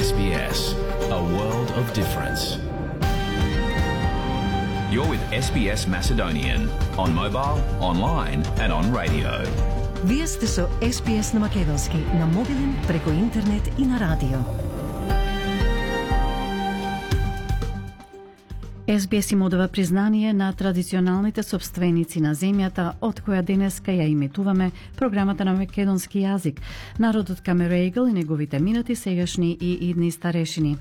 SBS, a world of difference. You're with SBS Macedonian on mobile, online and on radio. Вие сте со SBS на македонски, на мобилен, преку интернет и на радио. SBS им одава признание на традиционалните собственици на земјата, од која денеска ја иметуваме програмата на македонски јазик, народот Камерејгл и неговите минати, сегашни и идни старешини.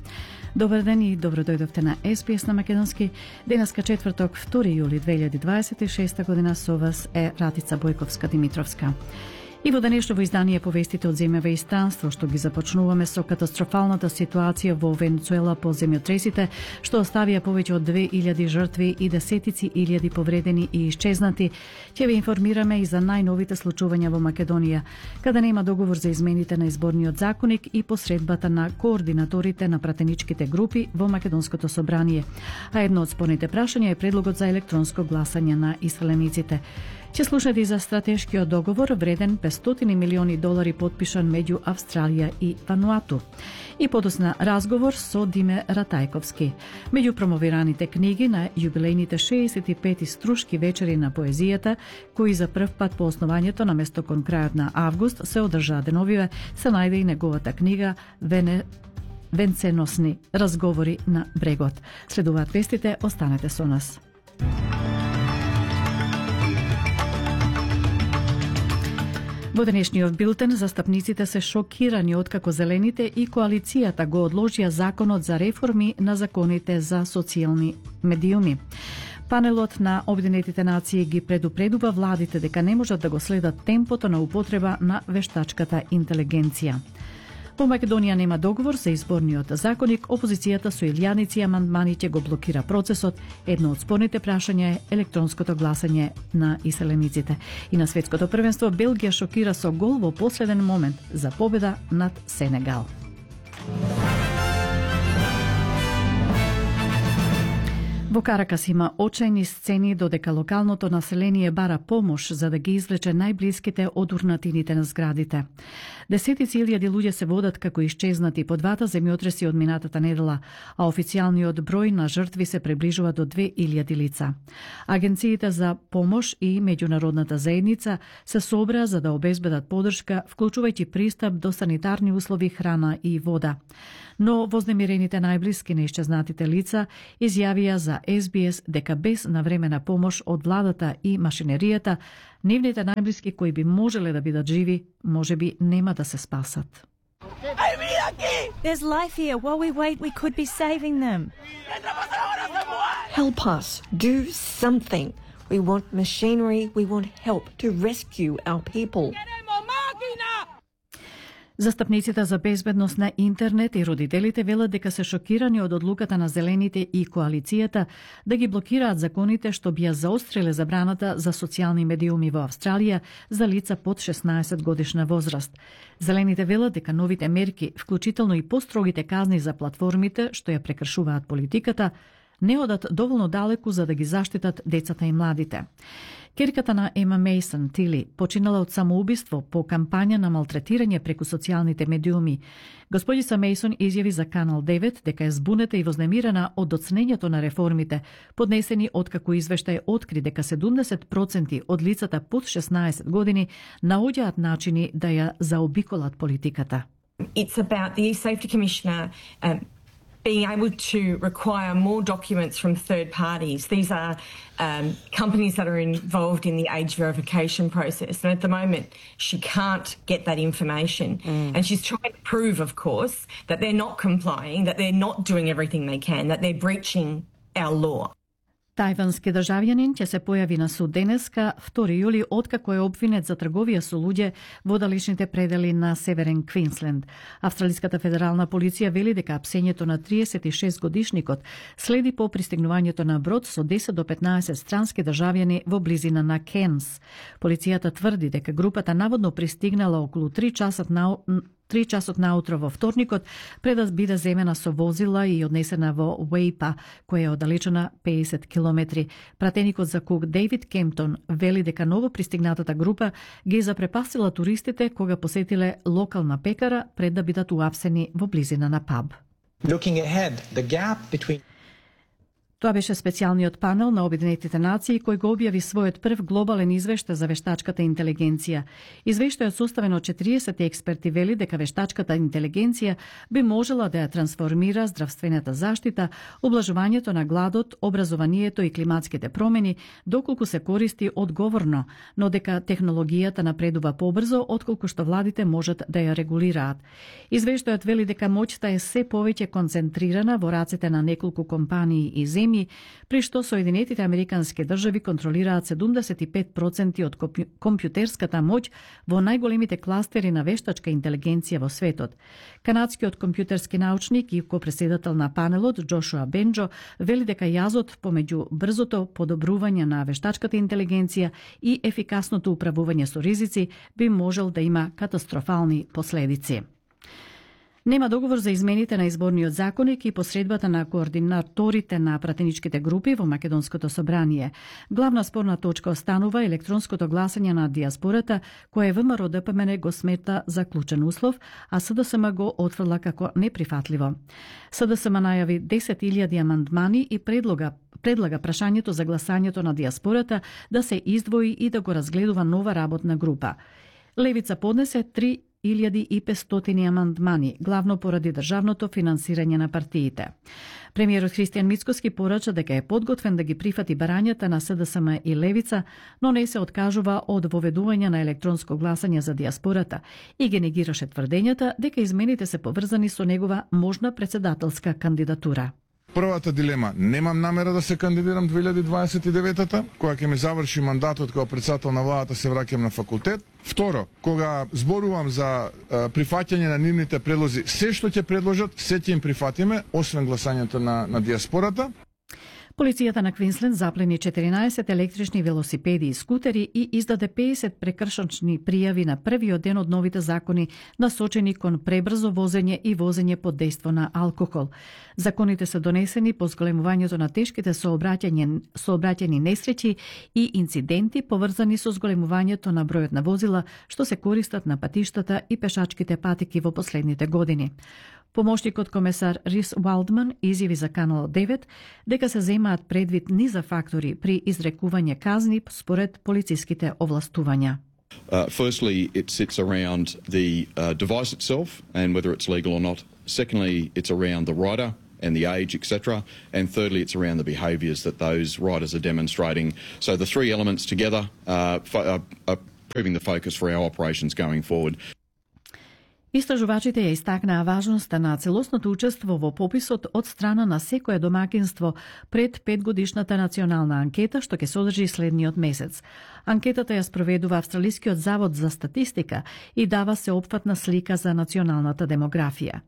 Добар ден и добро дојдовте на SBS на македонски. Денеска четврток, 2 јули 2026 година, со вас е Ратица Бојковска-Димитровска. И во денешново издание повестите од земјава и странство, што ги започнуваме со катастрофалната ситуација во Венецуела по земјотресите, што оставија повеќе од 2000 жртви и десетици илјади повредени и исчезнати. Ќе ве информираме и за најновите случувања во Македонија, каде нема договор за измените на изборниот законник и посредбата на координаторите на пратеничките групи во Македонското собрание. А едно од спорните прашања е предлогот за електронско гласање на иселениците. Ќе слушате и за стратешкиот договор вреден $500 милиони подпишан меѓу Австралија и Вануату. И подосна разговор со Диме Ратајковски. Меѓу промовираните книги на јубилејните 65 струшки вечери на поезијата, кои за прв пат по основањето на место кон крајот на август се одржаа деновиве, се најде и неговата книга Венценосни разговори на брегот. Следуваат вестите, останете со нас. Во денешниот билтен застапниците се шокирани откако Зелените и коалицијата го одложија законот за реформи на законите за социјални медиуми. Панелот на Обединетите нации ги предупредува владите дека не можат да го следат темпото на употреба на вештачката интелигенција. Во Македонија нема договор за изборниот законник, опозицијата со илјадници амандмани ќе го блокира процесот. Едно од спорните прашања е електронското гласање на иселениците. И на светското првенство Белгија шокира со гол во последен момент за победа над Сенегал. Во Каракас има очајни сцени додека локалното население бара помош за да ги извлече најблиските од урнатините на зградите. Десетици илјади луѓе се водат како исчезнати по двата земјотреси од минатата недела, а официјалниот број на жртви се приближува до 2000 лица. Агенциите за помош и меѓународната заедница се собраа за да обезбедат подршка, вклучувајќи пристап до санитарни услови, храна и вода. Но вознемирените најблиски на исчезнатите лица изјавија за SBS дека без навремена помош од владата и машинеријата, нивните најблиски кои би можеле да бидат живи, можеби нема да се спасат. There's life here. While we wait, we could be saving them. Help us. Do something. We want machinery. We want help to rescue our people. Застапниците за безбедност на интернет и родителите велат дека се шокирани од одлуката на Зелените и коалицијата да ги блокираат законите што би ја заостриле забраната за социјални медиуми во Австралија за лица под 16 годишна возраст. Зелените велат дека новите мерки, вклучително и построгите казни за платформите што ја прекршуваат политиката, не одат доволно далеку за да ги заштитат децата и младите. Керката на Ема Мейсон, Тили, починала од самоубиство по кампања на малтретирање преку социјалните медиуми. Господица Мейсон изјави за Канал 9 дека е збунета и вознемирена од доцнењето на реформите, поднесени откако извештај откри дека 70% од лицата под 16 години наоѓаат начини да ја заобиколат политиката. It's about the e-Safety Commissioner being able to require more documents from third parties. These are companies that are involved in the age verification process. And at the moment, she can't get that information. And she's trying to prove, of course, that they're not complying, that they're not doing everything they can, that they're breaching our law. Тајвански државјанин ќе се појави на суд денеска, 2 јули, откако е обвинет за трговија со луѓе во далечните предели на Северен Квинсленд. Австралиската федерална полиција вели дека апсењето на 36 годишникот следи по пристигнувањето на брод со 10 до 15 странски државјани во близина на Кенс. Полицијата тврди дека групата наводно пристигнала околу 3 3 часот наутро во вторникот, пред да биде земена со возила и однесена во Уейпа, која е оддалечена 50 километри. Пратеникот за Кук Дейвид Кемптон вели дека ново пристигнатата група ги запрепастила туристите кога посетиле локална пекара пред да бидат уапсени во близина на паб. Looking ahead, the gap between Тоа беше специјалниот панел на Обединетите нации кој го објави својот прв глобален извештај за вештачката интелигенција. Извештајот составен од 40 експерти вели дека вештачката интелигенција би можела да ја трансформира здравствената заштита, облажувањето на гладот, образованието и климатските промени, доколку се користи одговорно, но дека технологијата напредува побрзо отколку што владите можат да ја регулираат. Извештајот вели дека моќта е се повеќе концентрирана во рацете на неколку компании и земји, при што Соединетите Американски држави контролираат 75% од компјутерската моќ во најголемите кластери на вештачка интелигенција во светот. Канадскиот компјутерски научник и копреседател на панелот Джошуа Бенџо вели дека јазот помеѓу брзото подобрување на вештачката интелигенција и ефикасното управување со ризици би можел да има катастрофални последици. Нема договор за измените на изборниот законник и посредбата на координаторите на пратеничките групи во Македонското собрание. Главна спорна точка останува електронското гласање на диаспората, кое ВМРО ДПМН го смета за клучен услов, а СДСМ го отфрла како неприфатливо. СДСМ најави 10.000 амандмани и предлага прашањето за гласањето на диаспората да се издвои и да го разгледува нова работна група. Левица поднесе 3.500 амандмани, главно поради државното финансирање на партиите. Премиерот Христијан Мицкоски порача дека е подготвен да ги прифати барањата на СДСМ и Левица, но не се откажува од воведување на електронско гласање за диаспората и ги негираше тврдењата дека измените се поврзани со негова можна председателска кандидатура. Првата дилема, немам намера да се кандидирам 2029-та, кога ќе ми заврши мандатот како председател на владата, се враќам на факултет. Второ, кога зборувам за прифаќање на нивните предлози, се што ќе предложат, се ќе им прифатиме, освен гласањето на диаспората. Полицијата на Квинсленд заплени 14 електрични велосипеди и скутери и издаде 50 прекршачни пријави на првиот ден од новите закони насочени кон пребрзо возење и возење под дејство на алкохол. Законите се донесени по зголемувањето на тешките сообраќајни несреќи и инциденти поврзани со зголемувањето на бројот на возила што се користат на патиштата и пешачките патеки во последните години. Помошникот комесар Рис Уалдман изјави за Канал 9 дека се земаат предвид низа фактори при изрекување казни според полициските овластувања. Firstly, it sits around the device itself and whether it's legal or not. Secondly, it's around the rider and the age, etc. And thirdly, it's around the behaviours that those riders are demonstrating. So the three elements together are proving the focus for our operations going forward. Истражувачите ја истакнаа важноста на целосното учество во пописот од страна на секое домакинство пред 5-годишната национална анкета што ќе содржи следниот месец. Анкетата ја спроведува Австралискиот завод за статистика и дава сеопфатна слика за националната демографија.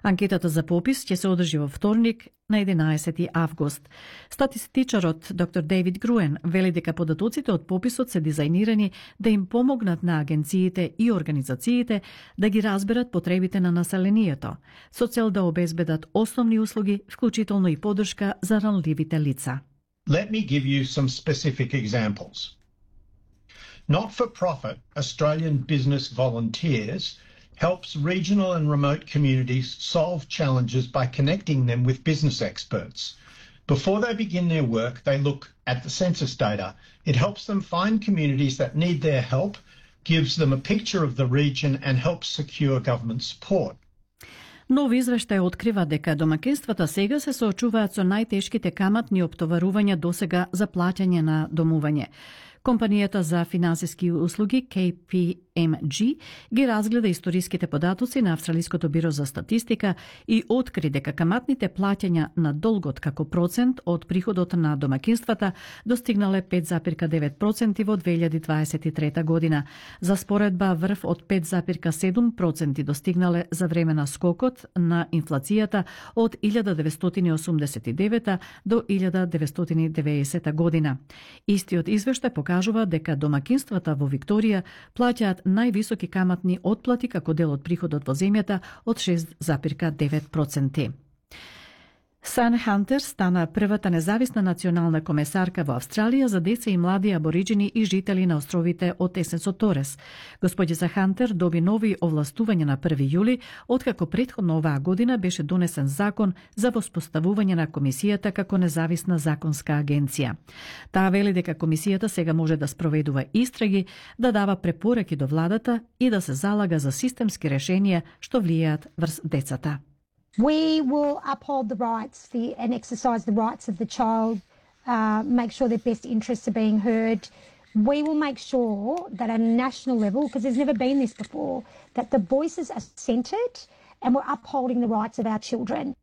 Анкетата за попис ќе се одржи во вторник на 11 август. Статистичарот доктор Дейвид Груен вели дека податоците од пописот се дизајнирани да им помогнат на агенциите и организациите да ги разберат потребите на населението, со цел да обезбедат основни услуги, вклучително и поддршка за ранливите лица. Let me give you some specific examples. Not-for-profit Australian business volunteers helps regional and remote communities solve challenges by connecting them with business experts. Before they begin their work, they look at the census data. It helps them find communities that need their help, gives them a picture of the region and helps secure government support. Нов извештај открива дека домакинствата сега се соочуваат со најтешките каматни оптоварувања досега за плаќање на домување. Компанијата за финансиски услуги KPMG ги разгледа историските податоци на Австралиското биро за статистика и откри дека каматните плаќања на долгот како процент од приходот на домакинствата достигнале 5,9% во 2023 година. За споредба врв од 5,7% достигнале за време на скокот на инфлацијата од 1989 до 1990 година. Истиот извештај покажува дека домакинствата во Викторија плаќаат највисоки каматни отплати како дел од приходот во земјата од 6,9%. Сан Хантер стана првата независна национална комесарка во Австралија за деца и млади абориџини и жители на островите од Есенсо Торес. Господица Хантер доби нови овластувања на 1 јули, откако претходно оваа година беше донесен закон за воспоставување на комисијата како независна законска агенција. Таа вели дека комисијата сега може да спроведува истраги, да дава препораки до владата и да се залага за системски решенија што влијаат врз децата. We will uphold the rights and exercise the rights of the child, make sure their best interests are being heard. We will make sure that at a national level, because there's never been this before, that the voices are centred and we're upholding the rights of our children.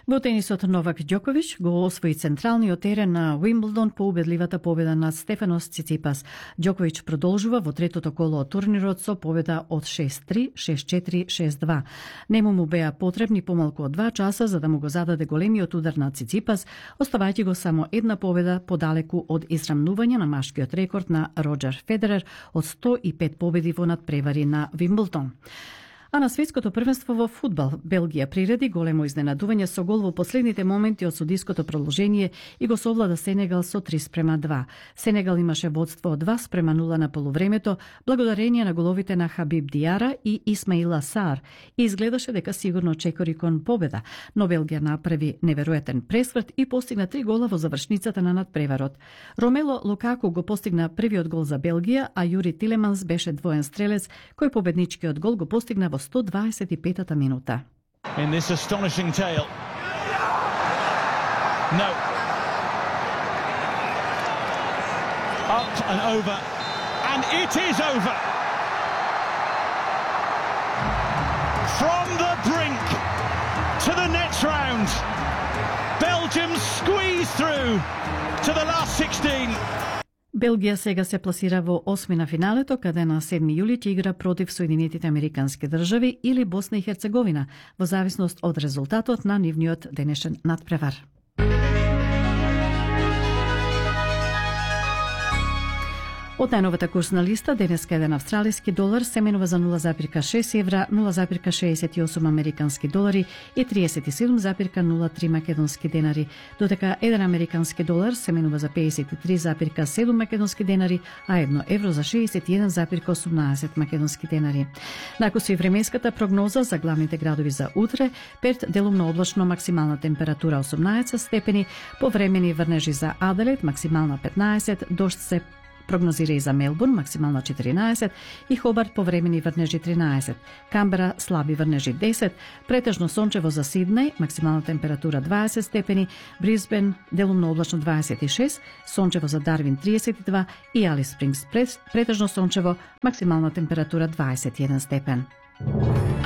Во тенисот Новак Ѓоковиќ го освои централниот терен на Уимблдон по убедливата победа над Стефанос Циципас. Ѓоковиќ продолжува во третото коло од турнирот со победа од 6-3, 6-4, 6-2. Нему му беа потребни помалку од 2 часа за да му го зададе големиот удар на Циципас, оставајќи го само една победа подалеку од израмнување на машкиот рекорд на Роџер Федерер од 105 победи во надпревари на Вимблдон. А на светското првенство во фудбал Белгија приреди големо изненадување со гол во последните моменти од судиското продолжение и го совлада Сенегал со 3:2. Сенегал имаше водство од 2:0 на полувремето, благодарение на головите на Хабиб Диара и Исмаила Сар, и изгледаше дека сигурно чекори кон победа, но Белгија направи неверојатен пресврт и постигна 3 гола во завршницата на надпреварот. Ромело Лукаку го постигна првиот гол за Белгија, а Јури Тилеманс беше двоен стрелец кој победничкиот гол го постигна во 125-та минута. In this astonishing tale. No. Up and over. And it is over. From the brink to the next round. Belgium squeeze through to the last 16. Белгија сега се пласира во осмина финалето, каде на 7 јули ќе игра против Соединетите Американски држави или Босна и Херцеговина, во зависност од резултатот на нивниот денешен надпревар. Од најновата курсна листа, денеска еден австралиски долар се менува за 0,6 евра, 0,68 американски долари и 37,03 македонски денари, додека еден американски долар се менува за 53,7 македонски денари, а 1 евро за 61,18 македонски денари. Накусу и временската прогноза за главните градови за утре: Перт делумно облачно, максимална температура 18 степени, повремени врнежи за Аделаид, максимална 15, дожд се прогнозира и за Мелбурн, максимална 14, и Хобарт повремени врнежи 13, Камбера слаби врнежи 10, претежно сончево за Сиднеј, максимална температура 20 степени, Брисбен делумно облачно 26, сончево за Дарвин 32 и Алис Спрингс претежно сончево, максимална температура 21 степен.